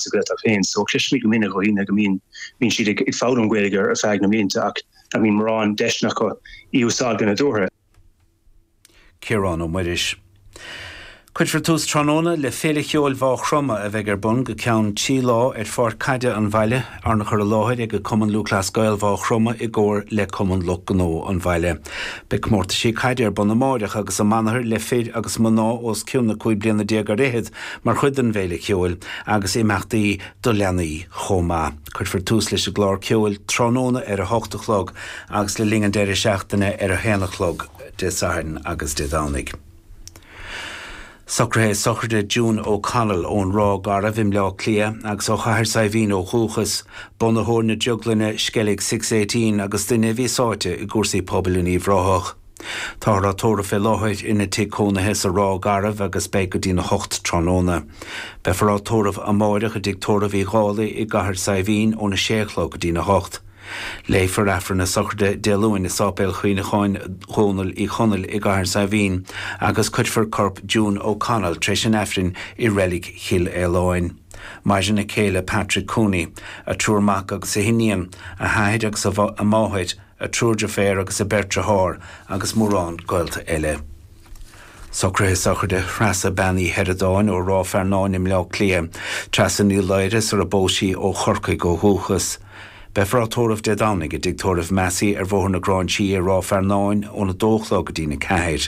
Sa Ghaeltacht féin. So cloisimid go minic ó dhaoine go mbíonn bíonn siad ag foghlaim Gaeilge ar feadh na mblianta ach nach mbíonn mórán deiseanna acu í a úsáid go nádúrtha. Ciarán Ó Muiris. Cuirfear tús tráthnóna le Féile Cheoil Mhaigh Chromtha a bheidh ar bun go ceann 3 lá ar pháirc caide an bhaile, arna chur i láthair ag Cumann Lúthchleas Gael Mhaigh Chromtha i gcomhar le Cumann Lucht Gnó an bhaile. Beidh comórtaisí caide ar bun amáireach agus amanathar le fir agus mná os cionn na 15 bliana ar fhichead mar chuid den bhféile cheoil agus imeachtaí do leanaí chomh maith. Cuirfear tús leis an gclár ceoil tráthnóna ar a hocht a chlog agus le linn an deireadh seachtaine ar a haon a chlog Dé Sathairn agus Dé Domhnaigh. Socruithe sochraide June O'Connell ón Ráth Garbh i mBleá Cliath agus ó Chathair Saidhbhín ó dhúchas, bunaitheoir na drioglainne Skellig 618 agus duine a bhí sáite i gcúrsaí pobail in Uíbh Ráthach. Táthar á tórramh fé láthair ina tigh cónaithe sa Ráth Garbh agus beidh go dtí'n 8 tráthnóna. Beifear á tórramh amáireach i dtigh tórraimh Uí Dhálaigh i gCathair Saidhbhín óna 6 a chlog go dtí'n 8. Léifear Aifreann na sochraide Dé Luain i Sáipéal Chuimhneacháin Dhónaill Uí Chonaill i gCathair Saidhbhín agus cuirfear corp June O'Connell tar éis an Aifrinn i Reilig Chill Fhaoláin. Maireann a céile Patrick Cooney, a triúr mac agus a hiníon, a hathair agus a máthair, a triúr deirféar agus a beirt dearthár agus mórán gaolta eile. Socruithe sochraide Threasa Bean Uí Sheireadáin ó Ráth Fearnáin i mBleá Cliath. Treasa Ní Laoire sar a bpós sí ó Chorcaigh ó dhúchas. Beifear á tórramh Dé Domhnaigh i dTigh Tórraimh Massey ar Bhóthar na Gráinsí i Ráth Fearnáin óna dó a chlog go dtína ceathair.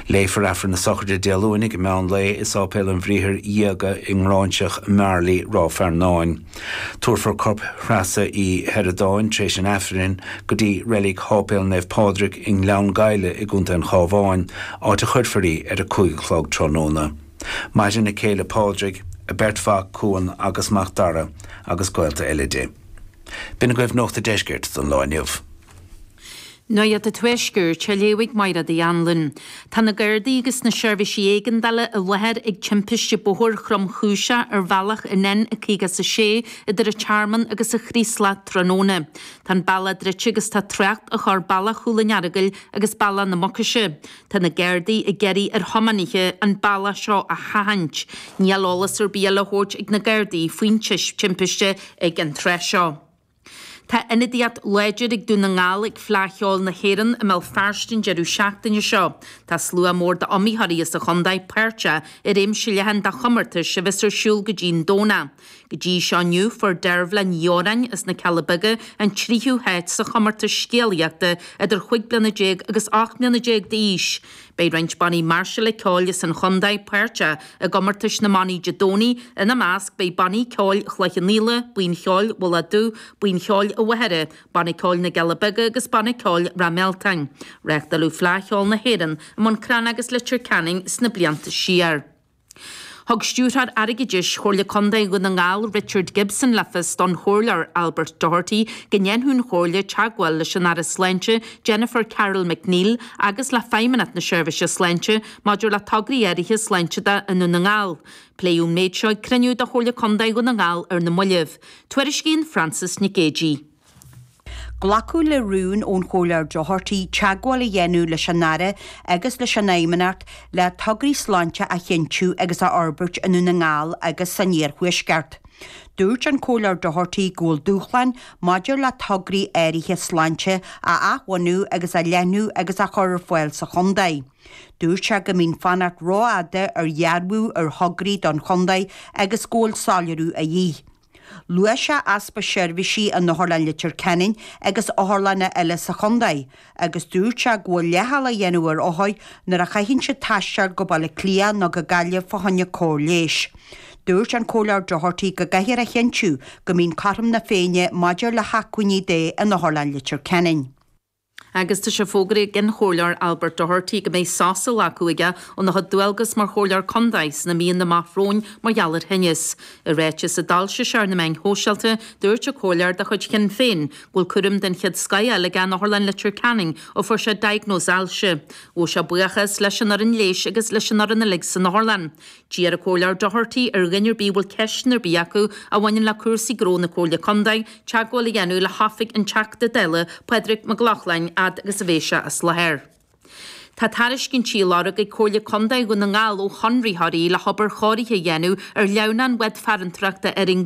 Léifear Aifreann na sochraide Dé Luain ag meán lae i Sáipéal an Bhriathair Dhiaga i nGráinseach Mharlaí, Ráth Fearnáin. Tabharfar corp Threasa Uí Sheireadáin tar éis an Aifrinn go dtí Reilig Sháipéal Naomh Pádraig i nGleann Gabhla i gContae an Chabháin, áit a chuirfear í ar a 5 a chlog tráthnóna. Maireann a céile Pádraig, a beirt mhac Cuan agus Macdara agus gaolta eile di. B'in agaibh Nuacht a' Deiscirt don lá inniu. Nuacht an Tuaiscirt á léamh ag Mairéad Uí Anluain. Tá na Gardaí agus na seirbhísí éigeandála i láthair ag timpiste bóthair thromchúiseach ar bhealach an N56 idir an Tearmann agus an Chraoslach tráthnóna. Tá an bealach druidte agus tá trácht á chur bealach Chúil an Earagail agus bealach na Mucaise. Tá na Gardaí ag iarraidh ar thiománaithe an bealach seo a sheachaint. Níl eolas ar bith eile á thabhairt ag na Gardaí faoin timpiste ag an tráth seo. Tá ionadaíocht láidir ag Dún na nGall ag Fleadh Cheoil na hÉireann i mBéal Feirste an deireadh seachtaine seo. Tá slua mór d'iomaitheoirí as an chontae páirteach i réimse leathan de chomórtais a bheas ar siúl go dtí an Domhnach. Go dtí seo inniu fuair Deirbhile Ní Odhráin as na Cealla Beaga an tríú háit sa chomórtas scéalaíochta idir chúig bliana déag agus 18 mbliana d'aois. Beidh roinnt bannaí máirseála ceoil as an chontae páirteach i gcomórtais na mbannaí Dé Domhnaigh, ina measc beidh Banna Ceoil Chloich Cheann Fhaola, Buíon Cheoil Mhullach Dubh, Buíon Cheoil an Mhachaire, Banna Ceoil na gCealla Beaga agus Banna Ceoil Ráth Mealtain. Reáchtáladh Fleadh Cheoil na hÉireann i mBun Cranncha agus Leitir Ceanainn sna blianta siar. Thug Stiúrthóir Airgeadais Chomhairle Contae Dhún na nGall, Richard Gibson le fios don Chomhairleoir Albert Doherty go ndéanfadh an Chomhairle teagmháil leis an Aire Sláinte Jennifer Carroll MacNeill agus le Feidhmeannacht na Seirbhíse Sláinte maidir le tograí áirithe sláinte de i nDún na nGall. Pléadh an méid seo ag cruinniú de Chomhairle Contae Dhún na nGall ar na mallaibh. Tuairiscíonn Frances Nic Géadaigh. Glacadh le rún ón Chomhairleoir Doherty teagmháil a dhéanamh leis an Aire agus leis an Fheidhmeannacht le tograí sláinte a chinntiú agus a fhorbairt i nDún na nGall agus san Iarthuaisceart. Dúirt an Comhairleoir Doherty go bhfuil dúshláin maidir le tograí áirithe sláinte a athbhunú agus a leathnú agus a chur ar fáil sa chontae. Dúirt sé go mbíonn fanacht rófhada ar dhearbhú ar thograí don chontae agus go bhfuil soiléiriú a dhíth. Luaigh sé easpa seirbhísí in Otharlann Leitir Ceanainn agus otharlanna eile sa chontae agus dúirt sé go bhfuil leithcheal á dhéanamh ar othair nuair a chaitheann siad taisteal go Baile Átha Cliath nó go Gaillimh fá choinne cóir leighis. Dúirt an Comhairleoir Doherty go gcaithfear a chinntiú go mbíonn cothrom na Féinne maidir le hacmhainní de in Otharlann Leitir Ceanainn. Agus tá sé fógraithe ag an Chomhairleoir Albert Doherty go mbeidh sos á ghlacadh aige óna chuid dualgas mar Chomhairleoir Contae sna míonna amach romhainn mar gheall ar thinneas. I ráiteas a d'fhoilsigh sé ar na meáin shóisialta, dúirt an Comhairleoir de chuid Shinn Féin go bhfuil cúram den chéad scoth á fháil aige in Otharlann Leitir Ceanainn ó fuair sé diagnóis ailse. Ghabh sé buíochas leis an fhoireann leighis agus leis an fhoireann uilig san otharlann. D'iarr an Comhairleoir Doherty ar dhuine ar bith a bhfuil ceisteanna ar bith acu a bhaineann le cúrsaí gnó na Comhairle Contae teagmháil a dhéanamh le hoifig an Teachta Dála, Pádraig Mac Lochlainn, fhad agus a bheidh sé as láthair. Tá tairiscintí á lorg ag Comhairle Contae Dhún na nGall ó chonraitheoirí le hobair chóirithe a dhéanamh ar shleamhnán Bhád Farantóireachta Árainn.